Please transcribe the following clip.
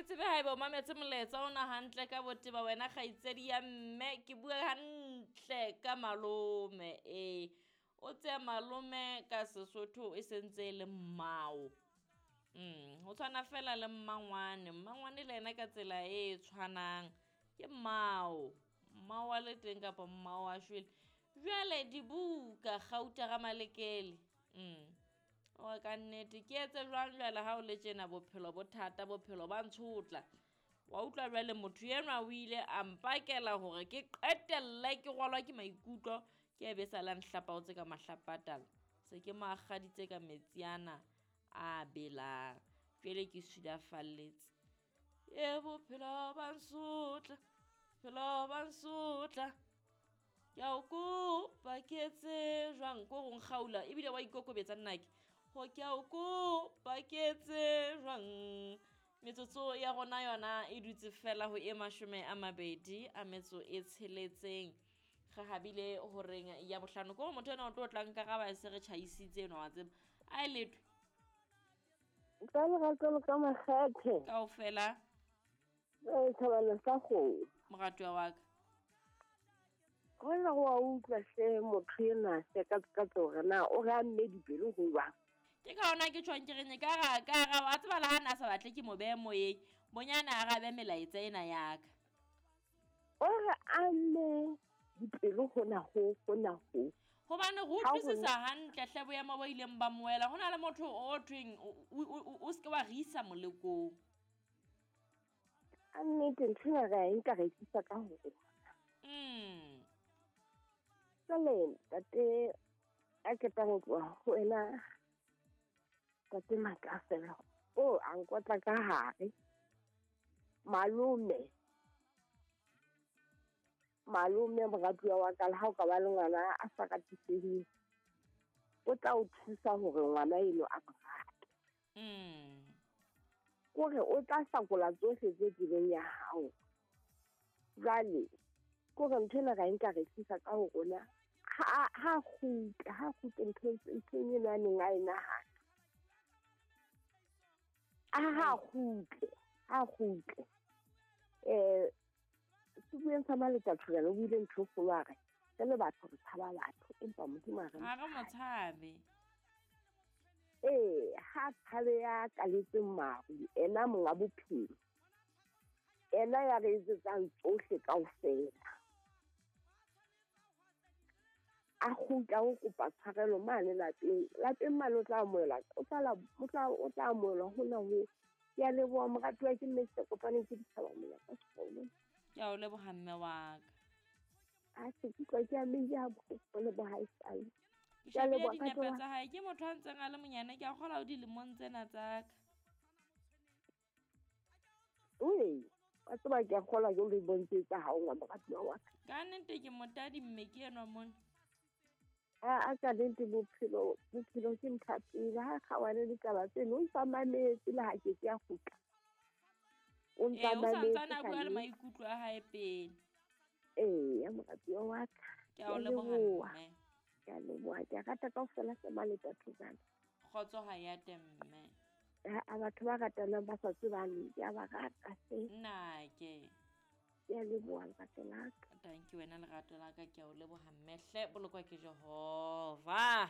ke tsebe haeba o mametse molaetsa ona hantle ka boteba wena kgaitsedi ya mme ke bua hantle ka malome ee o tseya malome ka Sesotho e sentse e le mmao. Ho tshwana fela le mmangwane, mmangwane le ena ka tsela e tshwanang ke mmao, mmao wa le teng kapa mmao wa shwele. Jwale dibuka Gauta ga Malekele o ka nnete ke etse jwang jwale ha o le tjena bophelo bo thata bophelo ba ntshotla. Wa utlwa jwale motho enwa o ile a mpakela hore ke qetelle ke rwalwa ke maikutlo ke e be sa la nhlapaotse ka mahlapatala. Se ke mo akgaditse ka metsi ana a belang. Jwale ke sulafalletse. E bophelo ba nsotla, bophelo ba nsotla. Ke a o kopa ke etse jwang ko go nkgaula ebile wa ikokobetsa nnake. Ho ke a o kopa ke etse jwang. Metsotso ya rona yona e dutse fela ho e 26. Re habile horeng ya bohlano. Ko motho ena o tlo tla nkaraba e se re tjhaisitse enwa wa tseba. A e letho. Ka lerato le ka makgethe. Kaofela. Thabana sa kgomo. Moratuwa wa ka. Hona wa utlwa hle motho enwa hle ka tsore na o re a mme dipelo ho jwang. Ke ka hona ke tjhong ke reng ka ra wa tseba le ha na sa batle ke mo behe moyeng bonyana a arabe melaetsa ena ya ka. O re a mme dipelo hona ho hona ho. Hobane go utlwisisa hantle hle boemo bo ileng ba moela ho na le motho o thweng o se ke wa re isa molekong. A nnete ntho ena re a e nka re e tlisa ka ho rona. Jwale ntate a qetang ho tloha ho wena ntate Makafela o a nkotla ka hare. Malome moratuwa wa ka le ha o ka ba le ngwana a sa ratiseheng o tla o thusa hore ngwana eno a mo rate. Kore o tla hlakola tsohle tse tseleng ya hao. Jwale kore ntho ena ra e nka re tlisa ka ho rona ha kgutle nthong eno a neng a e nahana. Ha kgutle. Sebueng sa Maleta Thobela o buile ntho e kgolo a re re le batho re tshaba batho empa Modimo ha re Ha re mo tshabe. Ee, ha tshabe ya kaletseng maru, ena monga bophelo. Ena ya re etsetsang tsohle kaofela. A kgutla ho kopa tshwarelo mane lapeng. Lapeng mane o tla amohelwa, o tla amohelwa hona ho. Ke a leboha moratuwa ke mme se kopaneng ke ditjhaba monyaka sekolo. Ke a o leboha mme wa ka. A se ke utlwa ke amehile ha bohloko le bohaisane. Ke shebile dinepe tsa hae, ke motho a ntseng a le monyane, ke a kgolwa o dilemong tsena tsa ka. Oi, wa tseba ke a kgolwa ke o le bontse tsa hao ngwa moratuwa wa ka. Ka nnete ke motadi mme ke enwa mona. A ka nnete bophelo ke ntho ya pele. Ha kgaohane le taba tseno, o ntsa mametse le ha ke ke a kgutla. O ntsa O mametse santsane a bua le ka nnete. maikutlo a hae pele. Ee, ya moratuwa wa ka. Ke a o leboha mme. Ke a leboha, ke a rata kaofela se Maleta Thobela. Kgotso ha ya te mme. A batho ba ratanang ba sa tsebaneng, ke a ba rata hle. Nnake. Ke a leboha lerato la ka. Thank you wena lerato la ka, ke a o leboha mme hle, bolokwa ke Jehova.